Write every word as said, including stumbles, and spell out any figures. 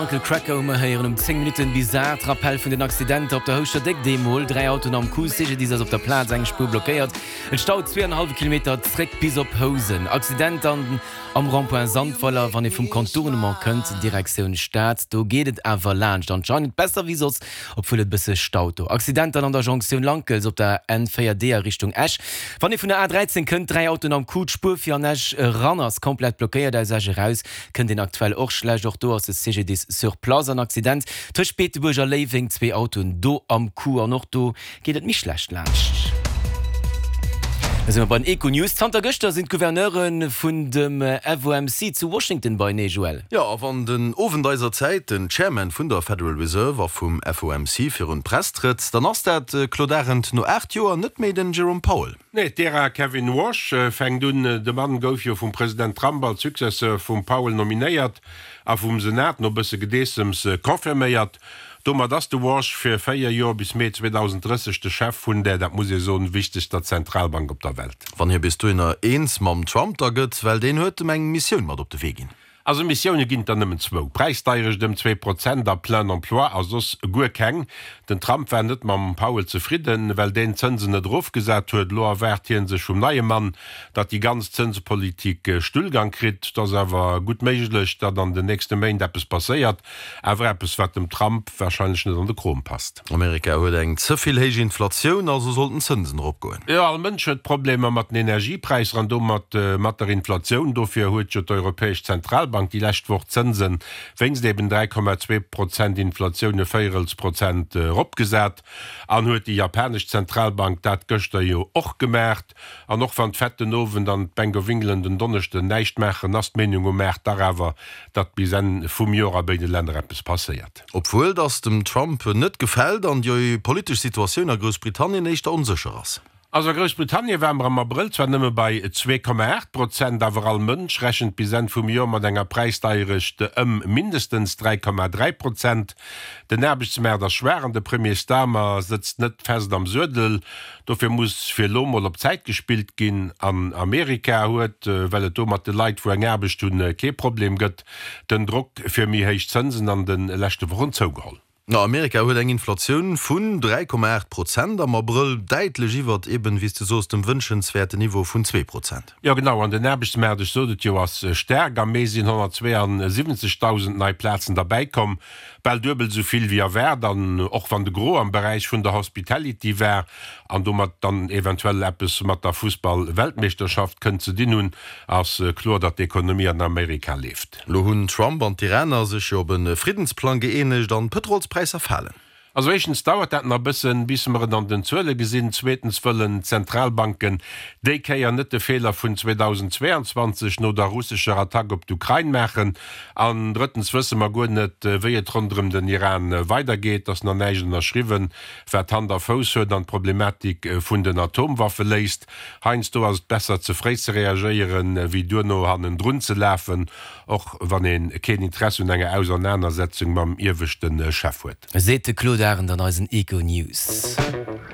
Uncle Kracker hu mer héieren um zéng Minutten bis aacht. Rappell vun den Accidenter op der Houschter Déck, deemol dräi Autoen am Coup, C G D I S ass op der Plaz, eng Spuer blockéiert, et staut zwee an e hallwe Kilometer zréck bis op Housen. Accident dann am Rond-point Sandweiler, wann ee vum Contournement kënnt Direktioun Stad, do geet et awer laanscht, anscheinend besser wéi soss, obwuel et bësse staut do. Accident dann an der Jonktioun Lankels op der N véier D a Richtung Esch, wann ee vun der A dräizéng kënnt, dräi Autoen am Coup, d'Spuer fir an Esch eran ass komplett blockéiert, aus Esch eraus kënnt een aktuell och schlecht, och do ass de C G D I S sur place. An Accident tëscht Beetebuerg a Léiweng, zwee Autoen do am Coup an och do geet et méi schlecht laanscht. Da si mer bei den Econews. Zanter gëschter sinn d'Gouverneure vun dem F O M C zu Washington beienee, Joël. Jo, a wann den Owend eiser Zäit den Chairman vun der Federal Reserve a vum F O M C virun d'Press trëtt, dann ass dat, Claude Arend, no aacht Joer net méi den Jerome Powell. Nee, d'Ära Kevin Warsh fänkt un. De Mann gouf jo vum President Trump als Successeur vum Powell nominéiert a vum Senat no bësse Gedeessems confirméiert. Domat ass de Warsh fir véier Joer bis Mee zweedausenddrësseg de Chef vun där, dat muss ee soen, wichtegster Zentralbank op der Welt. Wann hie bis dohinner eens mam Trump da gëtt, well deen huet em eng Missioun mat op de Wee ginn. Also Missioune ginn et der nëmmen zwou, Präisdeierecht ëm zwee Prozent a plein emploi a soss guer keng. Den Trump war net mam Powell zefridden, well deen d'Zënsen net erofgesat huet. Elo erwaart hie sech vum neie Mann, datt déi ganz Zënspolitik Stullgang kritt. Et ass awer gutt méiglech, datt an den nächste Méint eppes passéiert, awer eppes, wat dem Trump warscheinlech net an de Krom passt. Amerika huet eng ze vill héich Inflatioun, also sollten d'Zënsen eropgoen. Jo, all Mënsch huet Problemer mat den Energiepräisser an domat mat der Inflatioun. Dofir huet jo d'Europäesch Zentralbank déi lescht Woch d'Zënse wéinst eben dräi Komma zwee Prozent Inflatioun e Véierels Prozent eropgesat. An huet déi japanesch Zentralbank dat gëschter jo och gemaacht. An och wann d'Fed den Owend an d'Bank of England en Donneschden näischt maachen, ass d'Meenung um Maart dach awer, datt bis Enn vum Joer a béide Länner eppes passéiert. Obwuel datt dem Trump net gefält an déi politesch Situatioun a Groussbritannien éischter onsécher ass. Also a Groussbritannien ware mer am Abrëll zwar nëmme bei zwee Komma aacht Prozent, awer all Mënsch rechent bis Enn vum Joer mat enger Präisdeierecht ëm mindestens dräi Komma dräi Prozent. Den Aarbechtsmaart ass schwaach an de Premier Starmer sëtzt net fest am Suedel. Dofir muss fir elo mol op Zäit gespillt ginn. An Amerika huet, well et do mat de Leit wou eng Aarbecht hunn kee Problem gëtt, den Drock fir méi héich Zënsen an de leschte Wochen zougeholl. Amerika huet eng Inflatioun vun dräi Komma aacht Prozent am Abrëll, däitlech iwwert eben, wéi s de soos, dem wënschenswäerten Niveau vun zwee Prozent. Jo genau, an den Aarbechtsmaart, ech sot et jo, ass staark. Am Mee sinn honnertzweeansiwwenzegdausend nei Plazen derbäikomm, bal duebel esou vill wéi erwaart. An och wann de Gros am Beräich vun der Hospitality war an domat dann eventuell eppes mat der Fussball-Weltmeeschterschaft kënnt ze dinn hunn, ass kloer, datt d'Ekonomie an Amerika leeft. Lo hunn Trump an d'Iraner sech jo op e Friddensplang gëeenegt an d'Pëtrolspräisser falen. Also éischtens dauert dat nach e bëssen, bis mer et an den Zuele gesinn. Zweetens wëllen d'Zentralbanken déi Kéier net de Feeler vun zweedausendzweeanzwanzeg no der russescher Attack op d'Ukrain maachen. An drëttens wësse mer guer net, wéi et ronderëm den Iran weidergeet. Et ass nach näischt ënnerschriwwen, wat Hand a Fouss huet an d'Problematik vun den Atomwaffe léist. Heiansdo ass et besser, ze fréi ze reagéieren, wéi duerno hannendrun ze lafen, och wann ee keen Interesse un enger Ausernanersetzung mam ieweschte Chef huet. Seet de Claude Arend an eisen Econews.